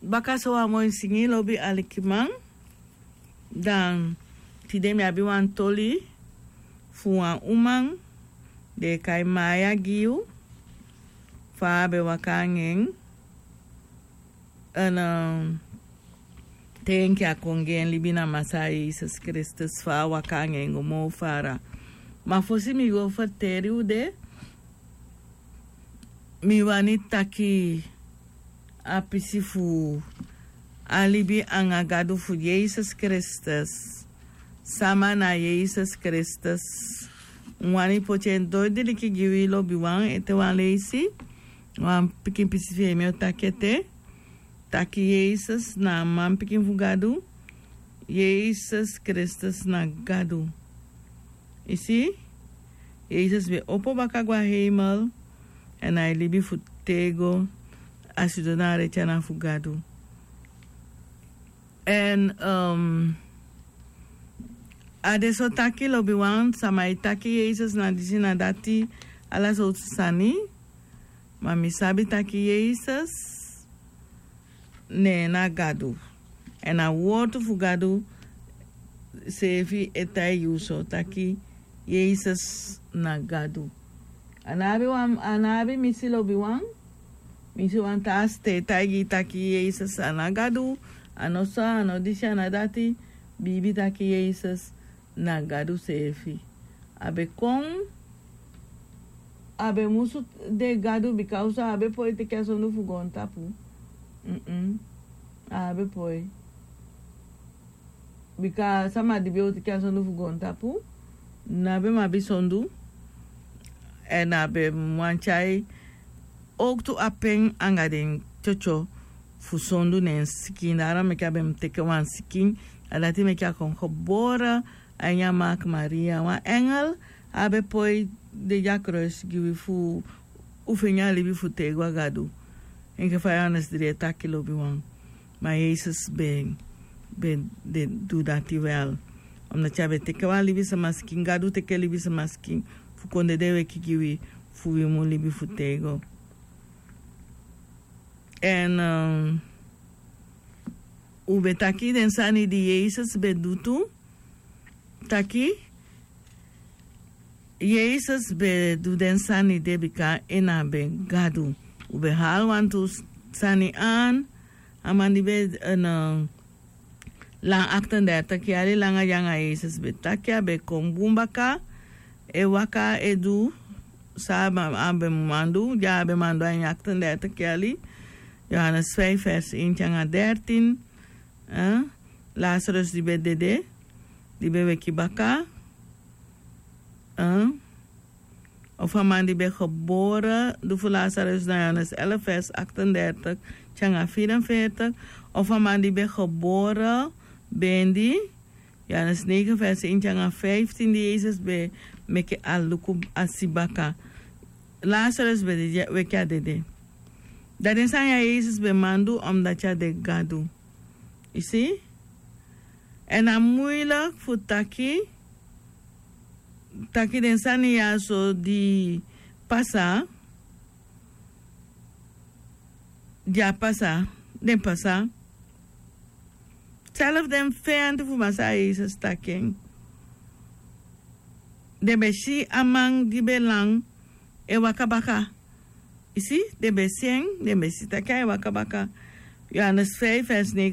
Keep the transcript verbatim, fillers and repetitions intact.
Baka so wan moi singi lobi alikiman. Dan tide mi abi wan toli fu wan uman den e kai Maya gi yu. Fa a be waka anga en, en te enke a kon gi en libi na Masaa Yesus Kristus, fa a waka anga en go moo fara. Ma fosi mi go ferteri u de, mi wani taki a pisi fu a libi anga Gadu fu Yesus Kristus. Sama na Yesus Kristus? Mi wani poti en doidiliki gi wi lobiwan ete wan leisi. Wan pikin pisi fi en mi o taki ete. Taki Yesus na a manpikin fu Gadu. Yesus Kristus na Gadu. I si? Yesus be opo baka go a heimel. Èn a e libi fu tego. A sidon na a reti ana fu Gadu. Èn a de so taki lobiwan, sama e taki Yesus na disi na dati, ala sowtu sani. Ma mi sabi taki Yesus ne na Gadu. Èn a wortu fu Gadu seefi e taigi yu so taki Yesus na Gadu. A no abi wan, a no abi misi lobiwan. Mi si wan taa site e taigi yu taki Yesus a no Gadu. A no so, a no disi, a no dati. Biibi taki Yesus na Gadu seefi. A be kon, a be musu de Gadu bika a be poi teki a sondu fu goontapu. A be poi. Bika sama di be o teki a sondu fu goontapu, na be mu abi sondu. Èn a be mu wani tyai owktu apen anga den tyotyo fu sondu ne en sikin. Dati meki a be mu teke wan sikin. A dati meki a kon gebore a ini a Maakmaria. Wan engel a be poi de a kruis gi wi fu u feni a libi fu tego a Gadu. Enke fa Yohanes dri e taki lobiwan. Ma Yesus be, be de du dati wel. Omdati a be teke wan libisama sikin, Gadu teke libisama sikin fu kon dede weki gi wi fu wi mu libi fu tego. Èn u be taki den sani di Yesus be du tu. Taki Yesus be du den sani de bika en na be Gadu. U be hali wantu sani an. A man di be lan aktendertig yali langa di anga Yesus be taki a be kon bun baka, e waka e du san a be mu man du, di a be man du a ini aktendertig yali. Yohanes vijf vers één te anga dertien. Lazarus di be dede, di be weki baka. Of a man di be gebore, du fu Lazarus na Yohanes elf vers achtendertig te anga vierenveertig. Of a man di be gebore bendi, Yohanes negen vers één te anga vijftien, di Yesus be meki a luku a si baka. Lazarus be de weki a dede. Dan den sani ya Yesus be man du omdati a de Gadu. I si? Èn a muilik fu taki, taki den sani ya so di pasa, di a pasa, den pasa. Self den feyanti fu Masaa Yesus taki en. Den be si a man di be lan e waka baka. I si, den be si en, den be si taki a e waka baka. Yohanes vijf vers negen.